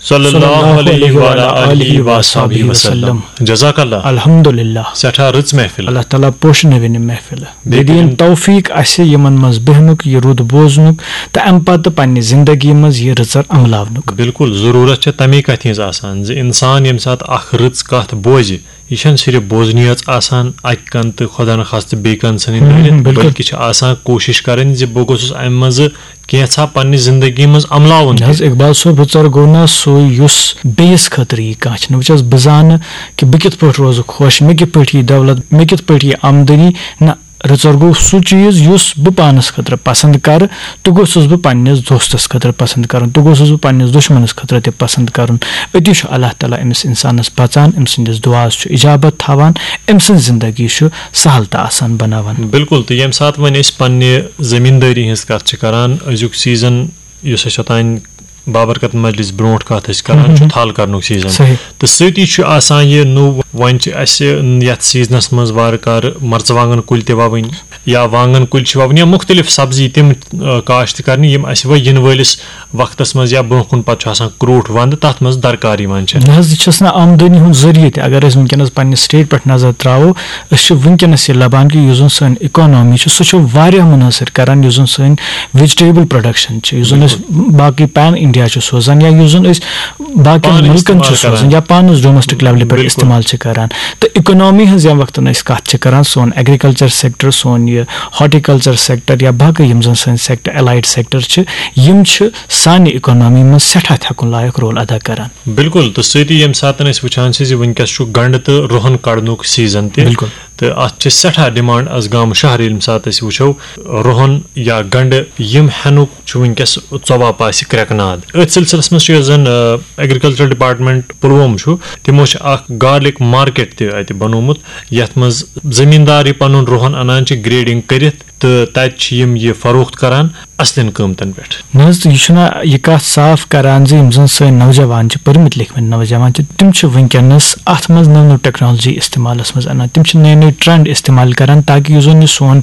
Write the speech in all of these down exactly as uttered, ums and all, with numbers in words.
صلی اللہ علیہ وعلی آلہ وصحبہ وسلم۔ جزاک اللہ۔ الحمدللہ۔ سٮ۪ٹھاہ رٕژ محفل۔ اللہ تعالیٰ پوشنٲوِن یہِ محفل۔ بیٚیہِ بیٚیہِ دِیِن کٔرِن توفیٖق اَسہِ یِمن منٛز بیٚہنُک، یہِ رُت بوزنُک تہٕ اَمہِ پتہٕ پننہِ زندگی منٛز یہِ رٕژر عملاونُک۔ بِلکُل، ضروٗرت چھےٚ تَمے کَتھِ ہٕنٛز آسان زِ اِنسان ییٚمہِ ساتہٕ اکھ رٕژ کَتھ بوزِ، یہِ چھَنہٕ صرف بوزنی یٲژ آسان اَکہِ کَنہٕ تہٕ خۄدا نخواستہٕ بیٚیہِ کَنہٕ ژھٕنٕنۍ ہُم، ہُم، کٔڑِتھ، بِلکُل۔ بلکہِ چھِ آسان کوٗشِش کَرٕنۍ زِ بہٕ گوٚژھُس اَمہِ منٛزٕ کینٛژھا پننہِ زندگی منٛز عملاوُن نہ حظ، تہِ۔ اقبال صٲب، رٕژر گوٚو نہ سُے یُس بیٚیِس خٲطرٕ یی کانٛہہ چھِنہٕ۔ وٕچھ حظ، بہٕ زانہٕ کہِ بہٕ کِتھ پٲٹھۍ روزٕ خۄش، مےٚ کِتھ پٲٹھۍ یی دولت، مےٚ کِتھ پٲٹھۍ یی آمدنی۔ نہ، رٕژر گوٚو سُہ چیٖز یُس بہٕ پانَس خٲطرٕ پسنٛد کَرٕ، تہٕ گوٚژھُس بہٕ پننِس دوستَس خٲطرٕ پسنٛد کَرُن، تہٕ گوٚژھُس بہٕ پننِس دُشمنَس خٲطرٕ تہِ پسنٛد کَرُن۔ أتی چھُ اللہ تعالیٰ أمِس اِنسانَس بَچان، أمۍ سٕنٛدِس دُعاہَس چھُ اِجابت تھاوان، أمۍ سٕنٛز زندگی چھُ سہل تہٕ آسان بناوان۔ بِلکُل، تہٕ ییٚمہِ ساتہٕ وۄنۍ أسۍ پننہِ زٔمیٖندٲری ہٕنٛز کَتھ چھِ کَران، أزیُک سیٖزن یُس أسۍ اوٚتانۍ بابرکت مجلس برونٛٹھ کَتھ ٲسۍ کَران، چھُ تھل کَرنُک سیٖزن۔ صحیح۔ تہٕ سۭتی چھُ آسان یہِ نوٚو، وۄنۍ چھِ اَسہِ یَتھ سیٖزنَس منٛز وارٕ کارٕ مرژٕوانٛگن کُلۍ تہِ وَوٕنۍ یا وانٛگن کُلۍ چھِ وَوٕنۍ یا مُختٔلِف سبزی تِم، آ، کاشت کَرنہِ، یِم اَسہِ وۄنۍ یِنہٕ وٲلِس وقتس منٛز یا برونٛہہ کُن پتہٕ چھُ آسان کرٛوٗٹھ ونٛدٕ، تتھ منٛز درکار یِوان چھِ۔ نہ حظ، یہِ چھَس نہٕ آمدنی ہُنٛد ذٔریعہٕ تہِ۔ اگر أسۍ وٕنکیٚنَس پننہِ state پٮ۪ٹھ نظر ترٛاوو، أسۍ چھِ وٕنکیٚنَس یہِ لبان کہِ یُس زَن سٲنۍ economy چھِ، سُہ چھُ واریاہ مُنحصر کران یُس زَن سٲنۍ vegetable production چھِ، یُس زَن أسۍ باقٕے pan India چھِ سوزان یا یُس زَن أسۍ باقین پانہٕ مُلکن استعمال چھِ سوزان کران۔ یا پانَس domestic levelہِ پٮ۪ٹھ بِلکُل۔ استعمال چھِ کران۔ تہٕ economy ہٕنٛز ییٚمہِ وقتہٕ أسۍ کَتھ چھِ کران، سون agriculture sector، سون یہِ horticulture sector یا باقٕے یِم زَن سٲنۍ sector، allied sector چھِ، یِم چھِ سانہِ economy منٛز سٮ۪ٹھاہ تھٮ۪کُن لایق role ادا کران۔ بِلکُل، تہٕ سۭتی ییٚمہِ ساتہٕ أسۍ وٕچھان چھِ زِ وٕنکیٚس چھُ گنٛڈٕ تہٕ رُہن کڑنُک سیٖزن تہِ۔ بِلکُل۔ تہٕ اَتھ چھِ سٮ۪ٹھاہ demand از گامہٕ شہر۔ ییٚمہِ ساتہٕ أسۍ وٕچھو، رُہن یا گنٛڈٕ یِم ہٮ۪نُک چھُ وٕنکیٚس ژۄوا پاسہِ کرٛٮ۪کہٕ ناد۔ أتھۍ سلسلس منٛز چھُ یۄس زن، آ، agriculture department پُلووم چھُ، تِمو چھُ اکھ garlic market تہِ اَتہِ بنوومُت، یَتھ منٛز زٔمیٖندار یہِ پنُن رُہن اَنان چھِ grading کٔرِتھ، تہٕ تَتہِ چھِ یِم یہِ فروخت کران اَصلٮ۪ن قۭمتن پٮ۪ٹھ۔ نہ حظ، تہٕ یہِ چھُنہ یہِ کَتھ صاف کران زِ یِم زَن سٲنۍ نوجوان چھِ، پٔرمٕتۍ لیکھمٕتۍ نوجوان چھِ، تِم چھِ وٕنکیٚنَس اَتھ منٛز نٔو نٔو technology استعمالَس منٛز اَنان، تِم چھِ نٔے نٔے trend استعمال کران تاکہِ یُس زَن یہِ سون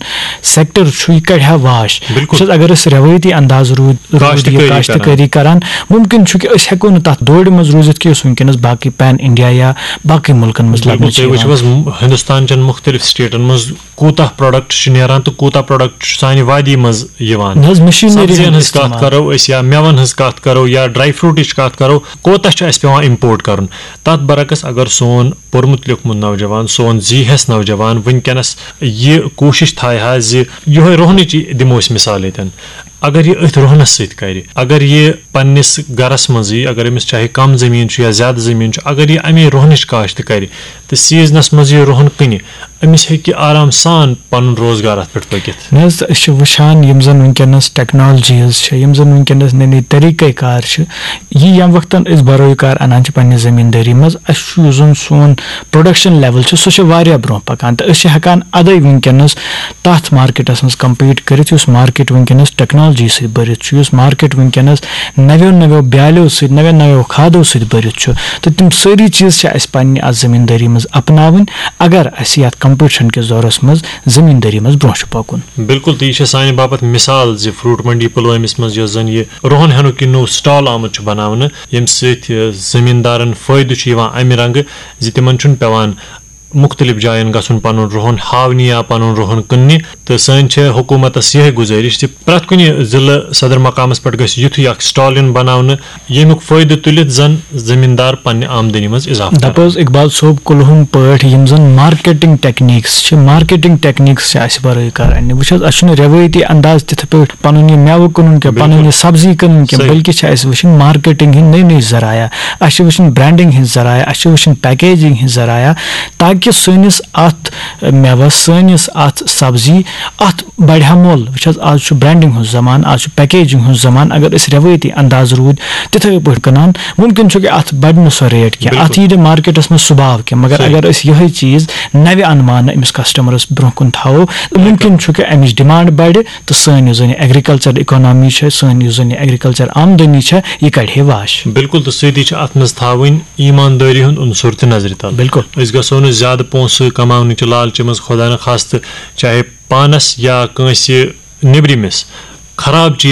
sector چھُ، یہِ کَڑِ ہا واش۔ بِلکُل۔ وٕچھ حظ، اگر أسۍ رٮ۪وٲیتی انداز روٗد، روٗد کاشتٕکٲری یہِ کاشتٕکٲری کران۔ کران، مُمکِن چھُ کہِ أسۍ ہٮ۪کو نہٕ تَتھ دورِ منٛز روٗزِتھ کہِ یُس وٕنکیٚنَس باقٕے pan India یا باقٕے مُلکَن منٛز بِلکُل، لَبنہٕ چھُ تُہۍ وٕچھِو یِوان۔ حظ، ہِندُستان چٮ۪ن مُختٔلِف stateن منٛز کوٗتاہ product چھُ نیران تہٕ کوٗتاہ product چھُ سانہِ وادی منٛز یِوان۔ نہ حظ، machinery سبزین ہُنٛد ہٕنٛز کَتھ استعمال۔ کرو أسۍ یا مٮ۪وَن ہٕنٛز کَتھ کرو یا dry fruitٕچ کَتھ کرو، کوٗتاہ چھُ اَسہِ پٮ۪وان import کرُن؟ تَتھ برعکس اگر سون پوٚرمُت لیوٚکھمُت نوجوان، سون زی ہٮ۪س نوجوان وٕنکیٚنَس یہِ کوٗشِش تھایہِ ہا زِ یِہوٚے رُہنٕچ دِمو أسۍ مِثال ییٚتٮ۪ن، اگر یہِ أتھۍ رُہنَس سۭتۍ کرِ، اگر یہِ پننِس گرَس منٛزٕے، اگر أمِس چاہے کم زٔمیٖن چھُ یا زیادٕ زٔمیٖن چھُ، اگر یہِ اَمے رُہنٕچ کاشت کرِ، تہٕ سیٖزنَس منٛز یہِ رُہَن کٕنہِ، أمِس ہیٚکہِ آرام سان پَنُن روزگار اَتھ پٮ۪ٹھ پٔکِتھ۔ نہ حظ، تہٕ أسۍ چھِ وٕچھان یِم زَن وٕنکیٚنَس technologies چھِ، یِم زَن وٕنکیٚنَس نٔے نٔے طریٖقے کار چھِ، یہِ ییٚمہِ وقتَن أسۍ بَروے کار اَنان چھِ پنٛنہِ زٔمیٖندٲری منٛز، اَسہِ چھُ یُس زَن سون production level چھُ، سُہ چھُ واریاہ برونٛہہ پَکان، تہٕ أسۍ چھِ ہٮ۪کان اَدَے وٕنکیٚنَس تَتھ marketَس منٛز compete کٔرِتھ، یُس market وٕنکیٚنَس technology سۭتۍ بٔرِتھ چھُ، یُس market وٕنکیٚنَس نَویو نَویو بیٛالیو سۭتۍ، نَویو نَویو کھادو سۭتۍ بٔرِتھ چھُ۔ تہٕ تِم سٲری چیٖز چھِ اَسہِ پنٛنہِ اَتھ زٔمیٖندٲری منٛز اَپناوٕنۍ، اگر اَسہِ یَتھ competition کِس دورَس منٛز زٔمیٖندٲری منٛز برونٛہہ چھُ پَکُن۔ بِلکُل، تہٕ یہِ چھِ سانہِ باپَتھ مِثال زِ fruit منڈی پُلوٲمِس منٛز یۄس زَن یہِ رُہَن ہٮ۪نُک یہِ نوٚو stall آمُت چھُ بَناونہٕ، ییٚمہِ سۭتۍ، یہِ، زٔمیٖندارَن فٲیدٕ چھُ یِوان اَمہِ رنٛگہٕ زِ تِمَن چھُنہٕ پٮ۪وان مُختٔلِف جایَن گژھُن پَنُن رُہَن ہاونہِ یا پَنُن رُہَن کٕننہِ۔ تہٕ سٲنۍ چھےٚ حکوٗمتَس یِہوٚے گُزٲرِش زِ پرٛٮ۪تھ کُنہِ ضلعہٕ صدر مقامَس پٮ۪ٹھ گژھِ یُتھُے اکھ stall یُن بناونہٕ، ییٚمیُک فٲیدٕ تُلِتھ زَن زٔمیٖندار پننہِ آمدنی منٛز اضافہٕ دَپہٕ کران۔ حظ اقبال صٲب، کُلہُم پٲٹھۍ یِم زَن marketing techniques چھِ، marketing techniques چھِ اَسہِ بَرٲے کار اَننہِ۔ وٕچھ حظ، اَسہِ چھُنہٕ رٮ۪وٲیتی انداز تِتھ پٲٹھۍ پَنُن یہِ مٮ۪وٕ کٕنُن کینٛہہ، پَنٕنۍ بِلکُل۔ یہِ سبزی کٕنٕنۍ کینٛہہ، صحیح۔ بلکہِ چھِ اَسہِ وٕچھِنۍ marketing ہِنٛدۍ نٔے نٔے ذرایع، اَسہِ چھِ وٕچھِنۍ branding ہِنٛدۍ ذرایع، اَسہِ چھِ وٕچھِنۍ packaging ہِنٛدۍ ذرایع، تاکہِ سٲنِس اَتھ مٮ۪وَس، سٲنِس اَتھ سبزی، اَتھ بَڑِ ہا مۄل۔ وٕچھ حظ، آز چھُ branding ہُنٛد زمانہٕ، آز چھُ packaging ہُنٛد زمانہٕ۔ اگر أسۍ رٮ۪وٲیتی انداز روٗدۍ تِتھَے پٲٹھۍ کٕنان، مُمکِن چھُ کہِ اَتھ بَڑِ نہٕ سۄ rate کینٛہہ، بِلکُل۔ اَتھ یی نہٕ marketَس منٛز سُہ باو کینٛہہ۔ مگر صحیح۔ اگر أسۍ یِہوٚے چیٖز نَوِ اَنمانہٕ أمِس customerَس برونٛہہ کُن تھاوو، تہٕ مُمکِن چھُ کہِ اَمِچ demand بَڑِ تہٕ سٲنۍ یُس زَن یہِ agriculture economy چھےٚ، سٲنۍ یُس زَن یہِ agriculture آمدنی چھےٚ، یہِ کَڑِ ہے واش۔ بِلکُل، تہٕ سۭتی چھِ اَتھ منٛز تھاوٕنۍ ایٖماندٲری ہُنٛد عنصر تہِ نظرِ تل۔ بِلکُل۔ أسۍ گژھو نہٕ زیادٕ پونٛسہٕ کماونہٕ چہِ لالچہِ منٛز، خۄدا نخواستہٕ، چاہے پانس یا کٲنٛسہِ نیٚبرِمِس خراب چیٖز